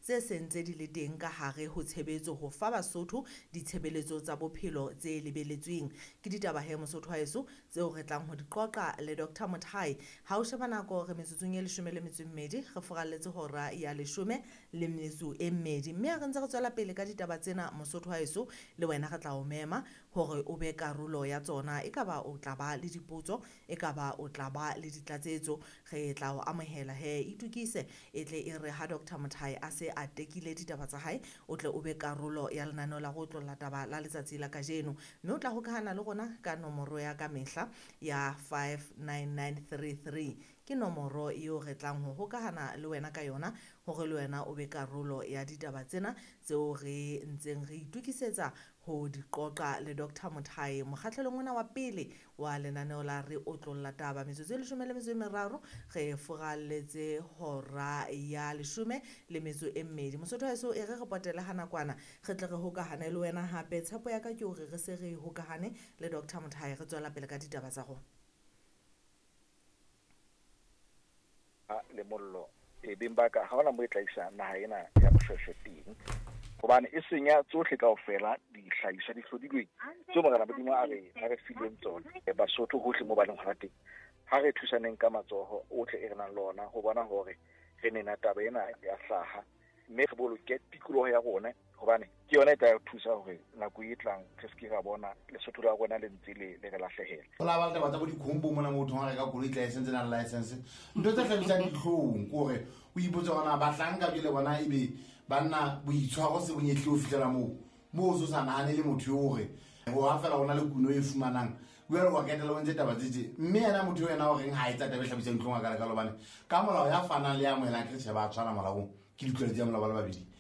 tse seng tse di le teng ka hare ho tshebetso ho fa Basotho ditshebeletso tsa bophelo tse lebeletsweng. Ke ditaba he Mosotho wa heso tseo re tlang ho di qoqa le Dr Mothai. Ha o sheba nako re metsotsong e 12 re furalletse hora ya 12. Mme ha re ntse re tswela pele ka ditaba tsena Mosotho wa heso, le wena re tla o mema hore o be karolo ya tsona. Ekaba o tla ba le dipotso, ekaba o tla ba le ditlatsetso, re tla o amohela he. Itukise e tle e re ha Dr Mothai a se a tekile ditaba tsa hae, o tle o be karolo ya lenaneo la go otlolla taba la letsatsi la kajeno. Mme o tla hokahana le rona ka nomoro ya ka mehla ya 59933. Ke nomoro eo re tlang ho hokahana le wena ka yona hore le wena o be karolo ya ditaba tsena tseo re ntseng re itukisetsa ho di qoqa le Dr Mothai mokgahlelong ona wa pele wa lenaneo la re otlolla taba. Metsotso e 13 re furalletse hora ya 12. Mosotho wa heso, e re re potele ha nakwana re tle re hokahane le wena hape. Tshepo ya ka ke hore re se re hokahane le Dr Mothai, re tswela pele ka ditaba tsa rona. Le mollo e beng ba ka ha hona mo e tla isa naha ena ya Moshweshwe teng, hobane e senya tsohle kaofela dihlahiswa di hlodilweng tseo Morena Modimo a re fileng tsona. Basotho hohle mo ba leng hona teng, ha re thusaneng ka matsoho ohle e re nang le ona ho bona hore re nena taba ena ya hlaha, mme re boloke tikoloho ya rona, hobane ke yona e tla re thusa hore nako e tlang re se ke ra bona Lesotho la rona le ntse le re lahlehela. Ho la ba le taba tsa bo dikhombo mona motho ha reka koloi license na license, ntho tse hlabisang dihlong ke hore o ipotse hore na bahlanka jwale bona ebe banna boitshwaro se bonyetlile ho fihlela moo moo o so sa nahane le motho eo hore ho ha fela ho na le kuno e fumanang jwale wa ketela o ntse taba tse tje. Mme yena motho eo yena o reng ha etsa taba e hlabisang dihlong a ka lekalo, hobane ka molao ya fanang le ya amohelang ke tjhe ba tshwana molaong, ke ditlwaelo tsa molao ba le babedi.